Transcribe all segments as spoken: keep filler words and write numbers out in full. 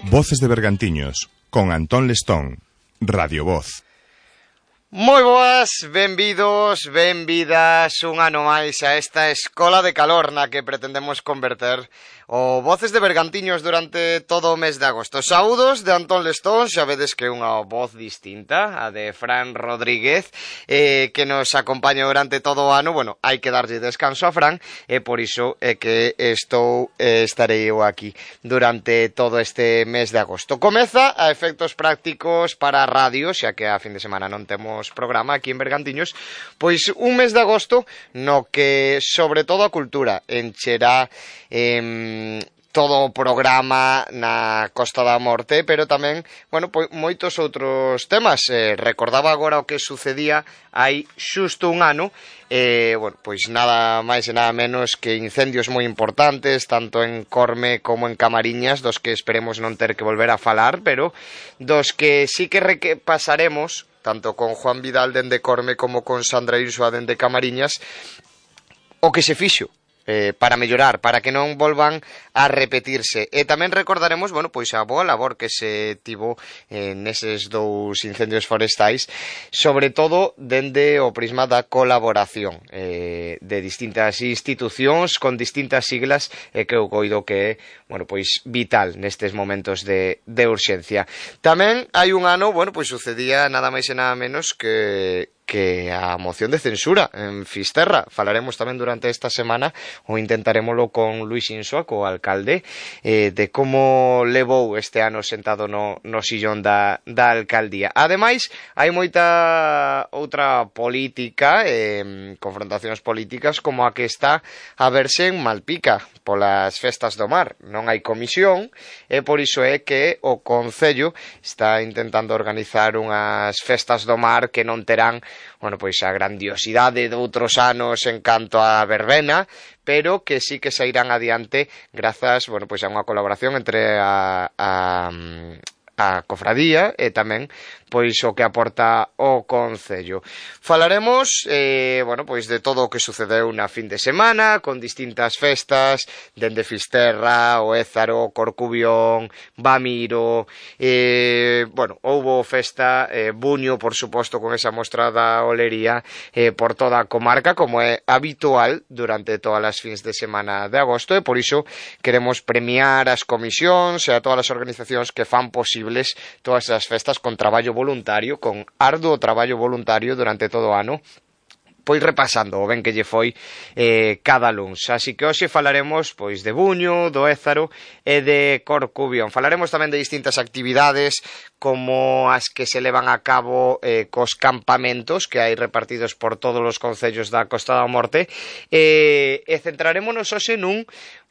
Voces de Bergantiños, con Antón Lestón, Radio Voz. Moi boas, benvidos, benvidas un ano máis a esta escola de calor na que pretendemos converter o Voces de Bergantiños durante todo o mes de agosto. Saúdos de Antón Lestón, xa vedes que é unha voz distinta, a de Fran Rodríguez, eh, que nos acompaña durante todo o ano. Bueno, hai que darlle descanso a Fran, e por iso é que estou, eh, estarei eu aquí durante todo este mes de agosto. Comeza a efectos prácticos para a radio, xa que a fin de semana non temos programa aquí en Bergantiños, pois un mes de agosto no que sobre todo a cultura encherá eh, todo o programa na Costa da Morte, pero tamén, bueno, pois moitos outros temas. Eh, recordaba agora o que sucedía hai xusto un ano, eh, bueno, pois nada máis e nada menos que incendios moi importantes, tanto en Corme como en Camariñas, dos que esperemos non ter que volver a falar, pero dos que sí que repasaremos, tanto con Juan Vidal dende Corme como con Sandra Insua dende Camariñas, o que se fixo eh, para mellorar, para que non volvan a repetirse. E tamén recordaremos, bueno, pois a boa labor que se tivo eh, neses dous incendios forestais, sobre todo dende o prisma da colaboración eh, de distintas institucións con distintas siglas, e eh, que eu coido que é, bueno, pois vital nestes momentos de, de urxencia. Tamén hai un ano, bueno, pois sucedía nada máis e nada menos que que a moción de censura en Fisterra. Falaremos tamén durante esta semana, ou intentaremoslo con Luis Insua, co alcalde, eh, de como levou este ano sentado no, no sillón da, da alcaldía. Ademais, hai moita outra política, eh, confrontacións políticas, como a que está a verse en Malpica, polas festas do mar. Non hai comisión, e por iso é que o Concello está intentando organizar unhas festas do mar que non terán, bueno, pois a grandiosidade de outros anos en canto a verbena, pero que sí que se irán adiante grazas, bueno, pois a unha colaboración entre a, a, a cofradía e tamén pois o que aporta o Concello. Falaremos, eh, bueno, pois de todo o que sucedeu na fin de semana, con distintas festas, dende Fisterra, o Ézaro, Corcubión, Bamiro, eh, bueno, houbo festa, eh, Buño, por suposto, con esa mostra da olería eh, por toda a comarca, como é habitual durante todas as fins de semana de agosto, e por iso queremos premiar as comisións e a todas as organizacións que fan posibles todas as festas con traballo voluntario, con arduo traballo voluntario durante todo o ano, pois repasando o ben que lle foi eh, cada luns. Así que hoxe falaremos pois de Buño, do Ézaro e de Corcubión. Falaremos tamén de distintas actividades como as que se levan a cabo eh, cos campamentos que hai repartidos por todos os concellos da Costa da Morte, e, e centrarémonos hoxe nun,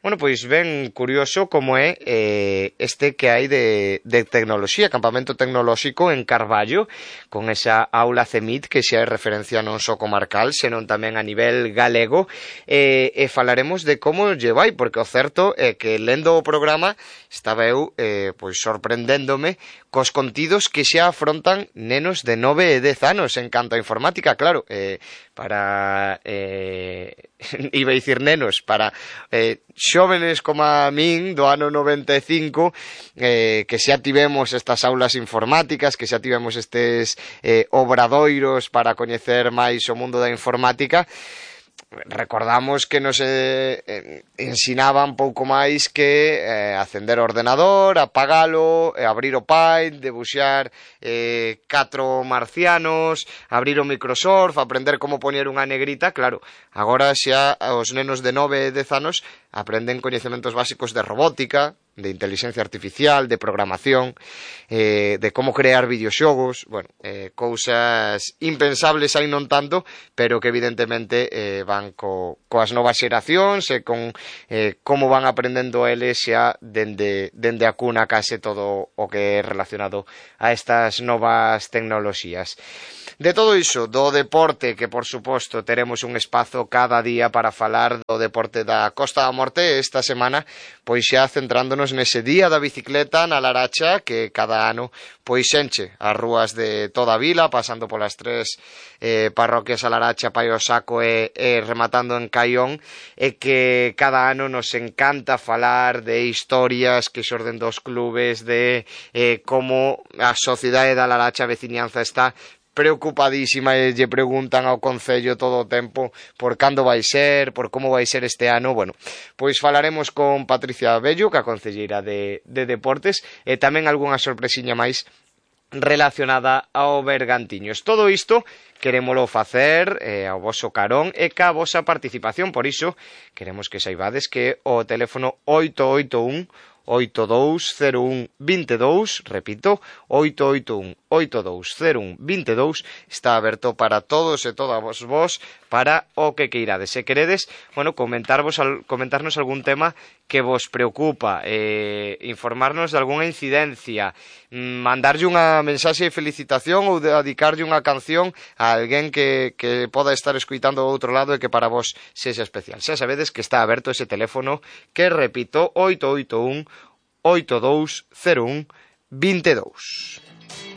bueno, pois ben curioso como é eh, este que hai de, de tecnoloxía, campamento tecnolóxico en Carballo, con esa aula CEMIT que xa é referencia non só comarcal, senón tamén a nivel galego, eh, e falaremos de como lle vai, porque o certo é que lendo o programa estaba eu eh, pois sorprendéndome cos contidos que xa afrontan nenos de nove e dez anos en canto a informática, claro, eh, para eh, iba a dicir nenos, para eh, xóvenes como a min do ano noventa e cinco, eh, que xa tivemos estas aulas informáticas, que xa tivemos estes eh, obradoiros para coñecer máis o mundo da informática. Recordamos que nos eh, eh, ensinaban pouco máis que eh, acender o ordenador, apagalo, eh, abrir o Paint, debuxar eh, catro marcianos, abrir o Microsoft, aprender como poñer unha negrita. Claro, agora xa os nenos de nove e dez anos aprenden coñecementos básicos de robótica, de inteligencia artificial, de programación, eh, de como crear videoxogos, bueno, eh, cousas impensables hai non tanto, pero que evidentemente eh, van co, coas novas xeracións e con eh, como van aprendendo eles xa dende, dende a cuna case todo o que é relacionado a estas novas tecnoloxías. De todo iso, do deporte, que por suposto teremos un espazo cada día para falar do deporte da Costa da Morte esta semana, pois xa centrándonos estamos nese día da bicicleta na Laracha, que cada ano pois enche as rúas de toda a vila, pasando polas tres eh, parroquias a Laracha, Paio Saco e, e rematando en Caión, e que cada ano nos encanta falar de historias que xorden dos clubes, de eh, como a sociedade da Laracha, a veciñanza, está preocupadísima e lle preguntan ao Concello todo o tempo por cando vai ser, por como vai ser este ano. Bueno, pois falaremos con Patricia Bello, que é a concelleira de, de Deportes, e tamén algunha sorpresiña máis relacionada ao Bergantiños. Todo isto querémolo facer eh, ao voso carón e ca vosa participación, por iso queremos que saibades que o teléfono oito oito un oito dous cero un vinte e dous, repito, oito oito un oito dous cero un vinte e dous, está aberto para todos e todas vos para o que queirades. Se queredes, bueno, comentarvos, comentarnos algún tema que vos preocupa, eh, informarnos de algunha incidencia, mandarlle unha mensaxe de felicitación ou dedicarlle unha canción a alguén que, que poda estar escuitando do outro lado e que para vos sexa especial. Xa sabedes que está aberto ese teléfono que, repito, oito oito un oito dous cero un vinte e dous.